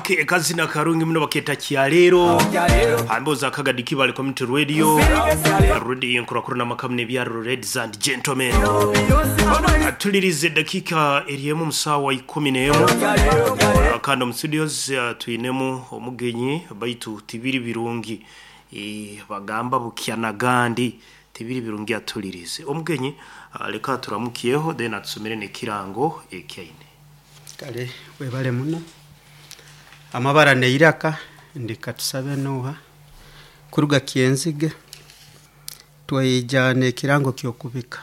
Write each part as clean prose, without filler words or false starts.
Okay, kazina karungi muno baketa kyaleero amboza akagadi kibale community radio radio enkurakuru n'amakamu n'ebyaruro ladies and gentlemen atulirize eddakiika eryemu mu saawa 11 kandi omu studios twinemu omugenyi baitu tibiri birungi bagamba bukya nagandi tibiri birungi atulirize omugenyi leka turamukiyeho then atusomere n'ekirango ekyaine. Kale webale muno amabara neiraka ndikatusabe nuha kuruga kyenzige twaija n'ekirango kyokubika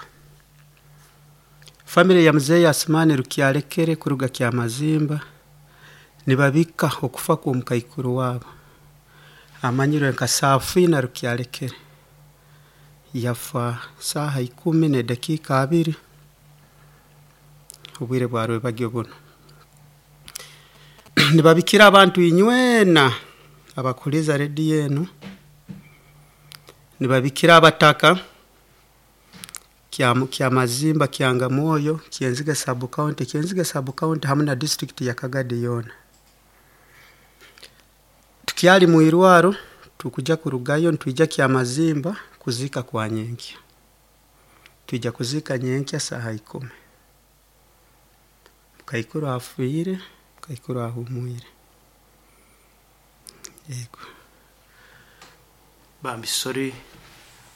family ya muzeeyi Asumani Rukyalekere kuruga Kyamazimba nibabika okufa kw'omukaikuru waabo amanyirwe nka Safina Rukyalekere yafa saaha 10:20 obwire bwa rwebagyo buno. Nibabikira abantu inywena abakuliza rediyo enu, nibabikira abataka Kyamazimba, Kyangamwoyo, Kyenzige sub county, Kyenzige sub county hamu na district ya Kagadi yoona. Tukyali mwirwaro tukuja kurugayo nitwija Kyamazimba kuziika kwa nyenkya. Twija kuziika nyenkya saaha 10. Mukaikuru afiire, mukaikuru ahumwire. Yego. Bambi sorry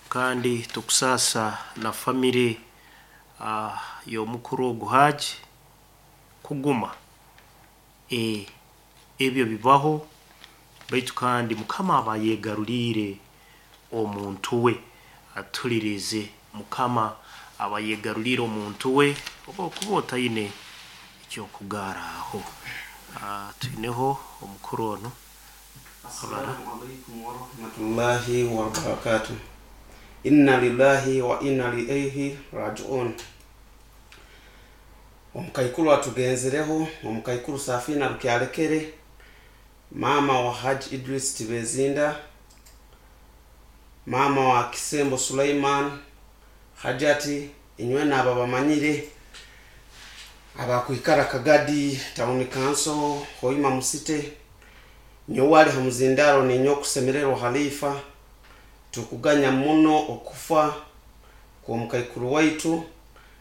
kandi tukusaasa na family y'omukuru ogu Haji kuguma ebyo bibaho baitu kandi mukama aba yegaruriire omuntu we atulirize mukama aba yegaruriire omuntu we oba okuba otaine ekyokugaraho. Twineho omukuru ono. Assalamu alaikum warahmatullahi wabarakatuh. Inna lillahi wa inna ilaihi rajiun. Omukaikuru atugenzereho, omukaikuru Safina Rukyalekere, mama wa Haji Idris Tibezinda, mama wa Kisembo Suleiman, Hajati, inywe nabo bamanyire abakwikara Kagadi Town Council, Hoima Musite, nyowali hamuzindaro ninyo kusemererwa Halifa, tukuganya muno okufa kw'omukaikuru waitu.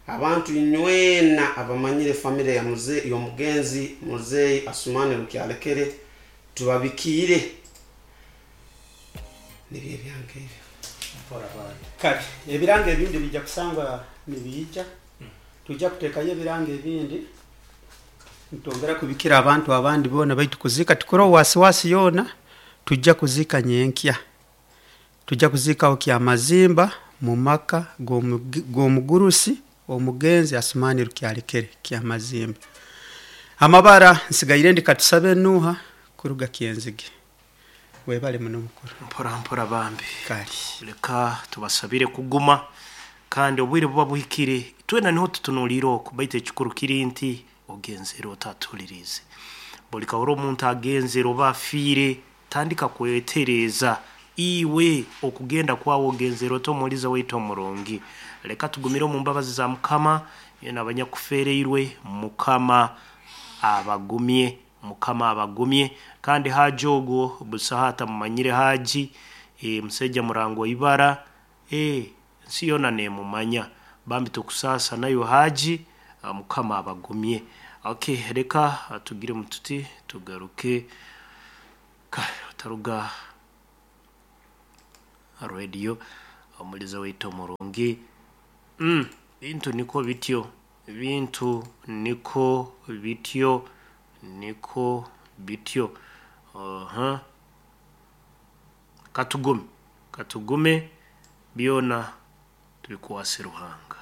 Abantu inywena abamanyire family ya muze y'omugenzi muzeyi Asumani Rukyalekere tubabikiire nibyo ebyange ebyo. Kale ebirango ebindi bijja kusangwa nibiija, tujja kuteekayo ebirango ebindi nitwongera kubikira abantu abandi boona baitu kuziika tikuraho wasiwasi yoona, tujja kuziika nyenkya. Tujja kuziikaho Kyamazimba mu maka g'omugurusi omugenzi Asumani Rukyalekere Kyamazimba. Amabara nsigaire ndi katusabe Nuha kuruga Kyenzige. Webale muno mukuru. Mpora mpora bambi. Kale. Leka tubasabire kuguma kandi obwire buba buhikire twena niho tutunuulire oku baitu ekikuru kiri nti ogenzere otatulirize. Buli kahora omuntu agenzere oba afiire tandika kwetereeza iwe okugenda kwawe ogenzere otomuliza waitu omurungi. Leka tugumire omu mbabazi za mukama yena abanyakufeereirwe mukama abagumye, mukama abagumye. Kandi Haji ogwo busaha atamumanyire Haji, musaija murango ibara, ensi yoona nemumanya. Bambi tukusaasa nayo Haji, mukama abagumye. Okay, leka tugire mututi tugaruke otaruga radio omuliza waitu omurungi. Bintu niko bityo, bintu niko bityo, niko bityo. Katugume, katugume byona tubikwase Ruhanga.